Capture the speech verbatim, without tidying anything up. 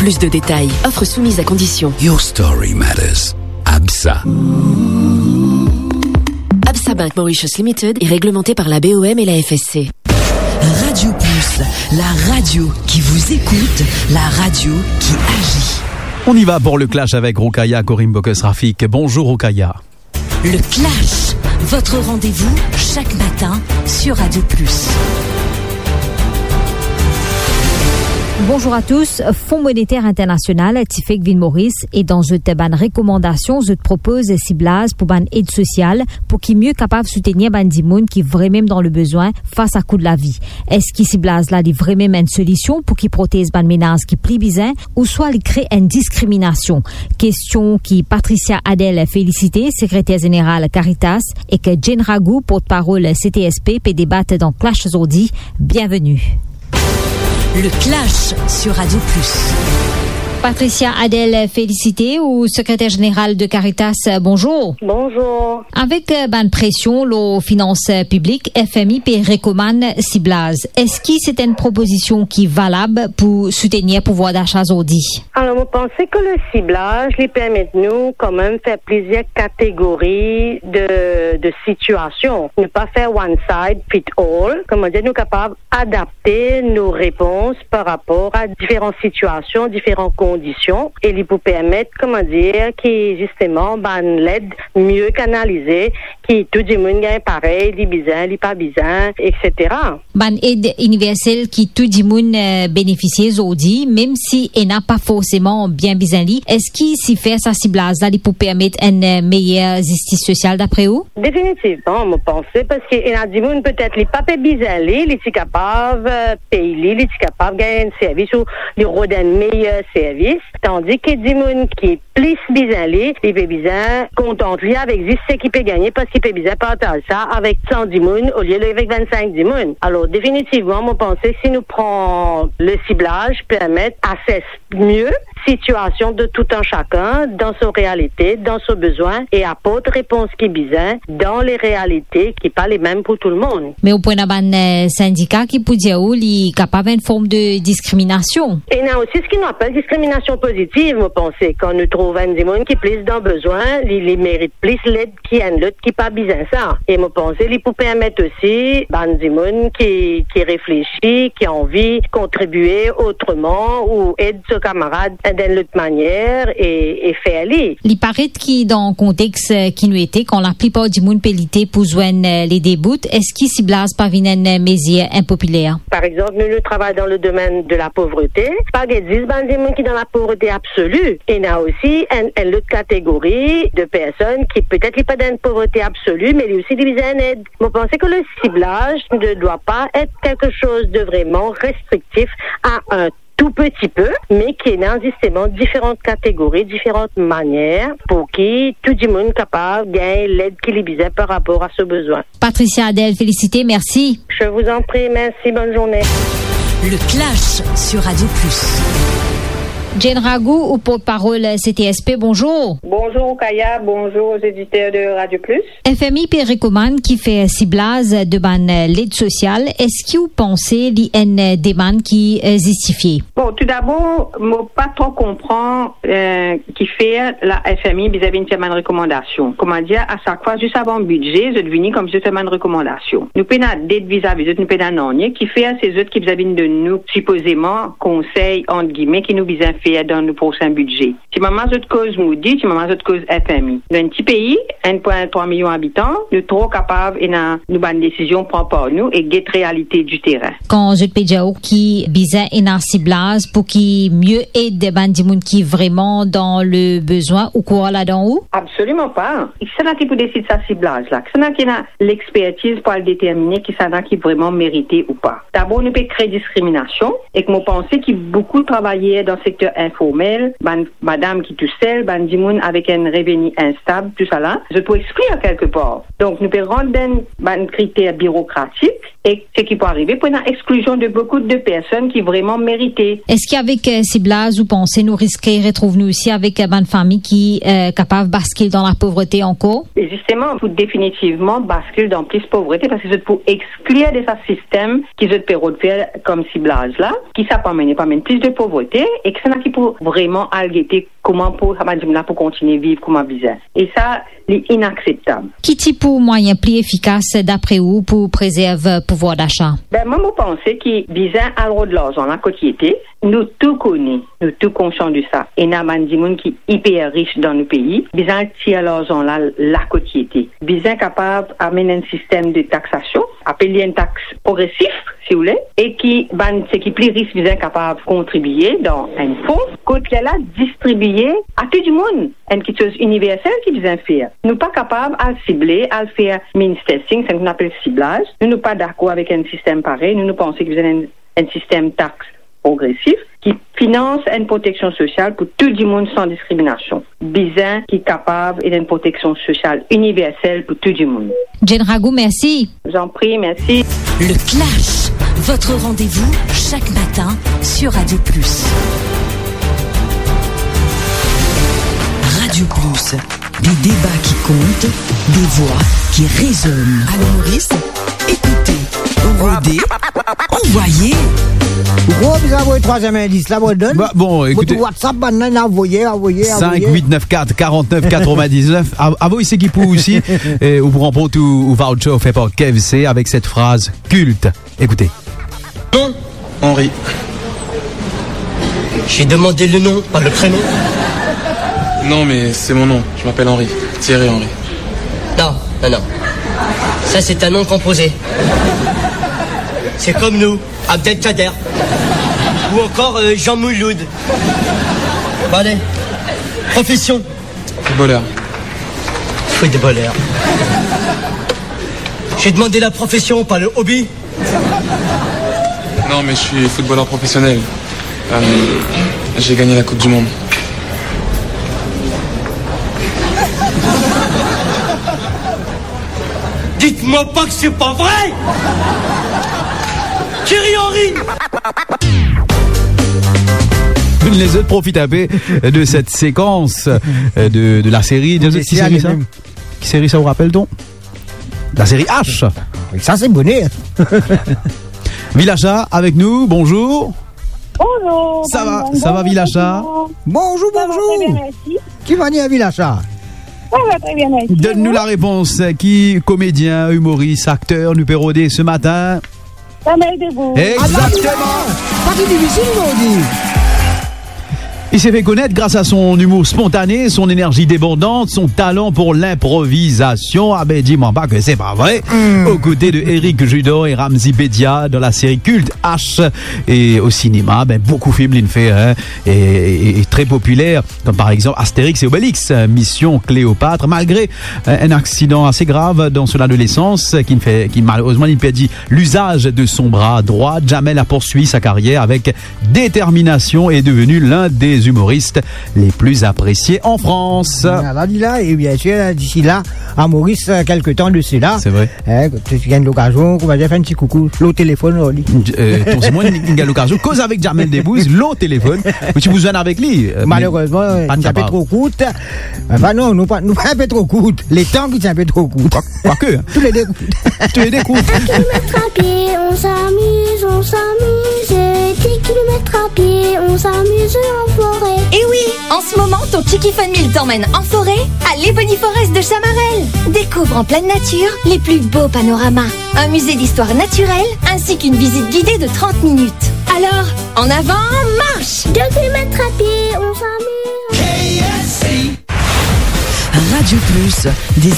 Plus de détails. Offre soumise à condition. Your story matters. ABSA. ABSA Bank Mauritius Limited est réglementé par la B O M et la F S C. Radio Plus, la radio qui vous écoute, la radio qui agit. On y va pour le clash avec Roukaya Korim Bokes Rafik. Bonjour Roukaya. Le Clash, votre rendez-vous chaque matin sur Radio Plus. Bonjour à tous. Fon Moneter Internasional ti fek vinn Moris e dan zot bann rekomandasion, zot propoz siblaz pou bann ed sosial pou ki mie kapav soutenir bann dimoun ki vremem dan lebezwin fas a kou lavi. Eski siblaz la li vremem enn solision pou ki protez bann menaz ki pli bizin ouswa li kre enn diskriminasion? Kestion ki Patricia Adèle Félicité, sekreter zeneral Caritas, ek Jane Ragou, portparol C T S P, pe debat dan Clash zordi. Bienveni. Le Clash sur Radio Plus. Patricia Adèle Félicité, ou sekreter zeneral de Caritas, bonjour. Bonjour. Avek, eh, bann presion lor finans, eh, piblik, F M I pe rekomann siblaz. Eski se enn propozision ki valab pou soutenir pouvwar dacha zordi? Alor, mo panse ke le siblaz, li permet nou kanmem fer plizier kategori de, de sitiasion. Ne pa fer one side fit all. Kouma dir, nou kapav adapte nou repons par rapor a diferan sitiasion, diferan kondision, e li pou permet, kouma dir, ki zisteman bann led mie kanalize, ki tou dimoun gagn parey, li bizin, li pa bizin, et cetera. Bann ed iniversel ki tou dimoun, eh, benefisie zordi, mem si ena pa forseman bien bizin li, eski si fer sa siblaz la, li pou permet enn, eh, meyer zistis sosial dapre ou? Definitivman, mo panse, parski ena dimoun petet li pa pe bizin li, li ti kapav, eh, pey li, li ti kapav gagn enn servis ou li rod enn meyer servis, tandi ki dimoun ki plis bizin li, li pe bizin kontant li avek zis seki pe gagne, parski pe bizin partaz sa avek san dimoun olie avek vennsenk dimoun. Alor, definitivman, mo panse si nou pran le siblaz, permet ases mie sitiasion de tout un chacun dan so realite, dan so bezwin, e aport repons ki bizin dan le realite ki pa lemem pou tou lemonn. Me ou pou ena bann, eh, sindika ki pou dir ou li kapav enn form de diskriminasion. Ena osi seki nou apel diskriminasion pozitiv, mo panse, kan nou trouv enn dimoun ki plis dan bezwin, li, li merit plis led ki enn lot ki pa bizin sa. E mo panse li pou permet osi bann dimoun ki, ki reflesi, ki anvi kontribie otreman ou ed so kamarad dan enn lot manier e, e fer li. Li paret ki dan kontex, eh, ki nou ete, kan laplipar dimoun pe lite pou zwenn, eh, lede bout, eski siblaz pa vinn enn, eh, mezir inpopiler? Par exanp, nou, nou travay dan le domenn de la povrete. Pa get zis bann dimoun ki dan la povrete absoli. Ena osi enn, enn lot kategori de personn ki petet li pa dan enn povrete absoli, me li osi li bizin enn ed. Mo panse ke le siblaz ne doit pas être quelque chose de vraiment restrictif à un tout petit peu, me ki ena zisteman diferan kategori, diferan manier pou ki tou dimoun kapav gagn led ki li bizin par rapor a so bezwin. Patricia Adèle Félicité, merci. Je vous en prie, merci, bonne journée. Le Clash sur Radio Plus. Jane Ragou, ou portparol C T S P, bonjour. Bonjour Roukaya, bonjour aux éditeurs de Radio Plus. F M I pe rekomann ki fer siblaz de bann led sosial. Eski ou panse li enn demann ki, eh, zistifie? Bon, toudabor, mo pa tro konpran, eh, kifer la F M I bizin vinn fer bann rekomandasion. Koumadir, a sak fwa, zis avan bidze, zot vini koumsi zot fer bann rekomandasion. Nou pena ded vizavi zot, nou pena nanye. Kifer se zot ki bizin vinn donn nou, sipozeman, konsey, ant gime, ki nou bizin fer dan nou prosin bidze. Ti mama zot koz Moody, ti mama zot koz F M I. Nou enn ti pei, enn pwin trwa milion abitan, nou tro kapav ena nou bann desizion pran par nou e get realite di terin. Kan zot pe dir ou ki bizin ena siblaz pou ki mie ed bann dimoun ki vreman dan lebezwin, ou krwar ladan ou? Absoliman pa. Kisannla ki pou desid sa siblaz la? Kisannla ki ena lexpertiz pou al determine kisannla ki vreman merite ou pa? Dabor, nou pe kre diskriminasion, ek mo panse ki boukou travayer dan sekter informel, bann madam ki tousel, bann dimoun avek enn reveni instab, tousala, zot pou exklir kelkepar. Donk, nou pe rant dan bann kriter birokratik, e seki pou arive, pou ena exklizion de boukou de personn ki vreman merite. Eski avek, eh, siblaz, ou panse nou riske retrouv nou osi avek, eh, bann fami ki, eh, kapav baskil dan lapovrete ankor? E zisteman, pou definitivman baskil dan plis povrete, parski zot pou exklir de sa sistem ki zot pe rod fer kom siblaz la, ki sa pou amenn, pou amenn plis de povrete, e ki sa ki pou vreman al gete kouma pou sa bann dimoun la pou kontigne viv kouma bizin. E sa, li inakseptab. Ki ti pou mwayin pli efikas, dapre ou, pou prezerv pouvwar dacha? Ben, mwa, mo panse ki bizin al rod larzan la kot li ete. Nou tou kone, nou tou konsian de sa. Ena bann dimoun ki iper ris dan nou pei, bizin al tir larzan la, la kot li ete. Bizin kapav amenn enn sistem de taksasion, apel li enn tax progresif, si ou le, e ki bann seki pli ris bizin kapav kontribie dan enn fon, kot lerla distribie a tou dimoun. Enn kiksoz iniversel ki bizin fer. Nou pa kapav al sible, al fer means testing, sa nou apel siblaz. Nou, nou pa dakor avek enn sistem parey. Nou, nou panse ki bizin enn, enn sistem tax progresif ki finans enn proteksion sosial pou tou dimoun san diskriminasion. Bizin ki kapav ena enn proteksion sosial iniversel pou tou dimoun. Jane Ragou, mersi. Je vous en prie, merci. Le Clash, votre rendez-vous chaque matin sur Radio Plus. Radio Plus, des débats qui comptent, des voix qui résonnent. Allo Moris, écoutez, rodez, envoyez. Ou bizin avoy trwaziem indis la, mo donn. Ba, bon, mo ekoute, tou WhatsApp, bann la avoye, avoye, avoye. Cinq huit neuf quatre quarante-neuf quatre-vingt-dix-neuf. Av-, avoy seki pou ou osi, e ou pou ranport ou, ou voucher offer par K F C avec cette phrase culte. Écoutez. Non, Henri. J'ai demandé le nom, pas le prénom. Non, mais c'est mon nom. Je m'appelle Henri. Thierry Henry. Non, non, non. Ça, c'est un nom composé. C'est comme nous, Abdelkader. Ou encore, euh, Jean Mouloud. Bon, allez. Profession. Footballeur. Footballeur. J'ai demandé la profession, pas le hobby. Non, mais je suis footballeur professionnel. Euh, j'ai gagné la Coupe du Monde. Dites-moi pas que c'est pas vrai ! Thierry Henry ! Lezot profit inpe de cette séquence, euh, de, de la série. Ki série sa? Ki série sa, ou rapel, ton? La série H. Wi, sa se boner. Vilacha avek nou, bonzour. Bonzour. Sa va, sa va, Vilacha? Bonzour, bonzour. Sa va tre bien, mersi. Ki manier, Vilacha? Sa va tre bien, mersi. Donn nou la repons. Ki komedien, imoris, akter nou pe rode se matin? Jamel Debbouze. Exactement. Pa ti difisil, mon Dieu. Il s'est fait connaître grâce à son humour spontané, son énergie débordante, son talent pour l'improvisation. Ah ben, dis-moi pas que c'est pas vrai. Hmm. Aux côtés de Éric Judor et Ramzy Bedia dans la série culte H. Et au cinéma, ben, beaucoup de films, il fait, hein, et, et, et très populaire, comme par exemple Astérix et Obélix, euh, Mission Cléopâtre. Malgré, euh, un accident assez grave dans son adolescence, qui ne fait, qui malheureusement, il perdit l'usage de son bras droit, Jamel a poursuivi sa carrière avec détermination et est devenu l'un des humoristes les plus appréciés en France. Ala li la, e biensir, disila, a Moris, euh, quelque temps de cela. C'est vrai. Hein, tu gagnes l'occasion, kouma dir, fer enn ti koukou lor telefonn, li. Euh, ton, se mwa, li gagn lokazion koz avek Jamel Debbouze lor telefonn. Ou ti pou zwenn avek li, euh, malerezman, li ti inpe tro kourt. Anfin, non, nou pa, nou pa inpe tro kourt. Letan ki ti inpe tro kourt. Kwa, kwake, hein. Toulede kourt. Toulede kourt. Un kilomètre à pied, on s'amuse, on s'amuse. Dix kilomètres à pied, on s'amuse en forêt. Eh oui, en ce moment, ton Tiki Fun Meal t'emmène en forêt, à l'Ebony Forest de Chamarel. Découvre en pleine nature les plus beaux panoramas, un musée d'histoire naturelle, ainsi qu'une visite guidée de trente minutes. Alors, en avant, marche ! Deux kilomètres à pied, on s'amuse. Radio Plus, des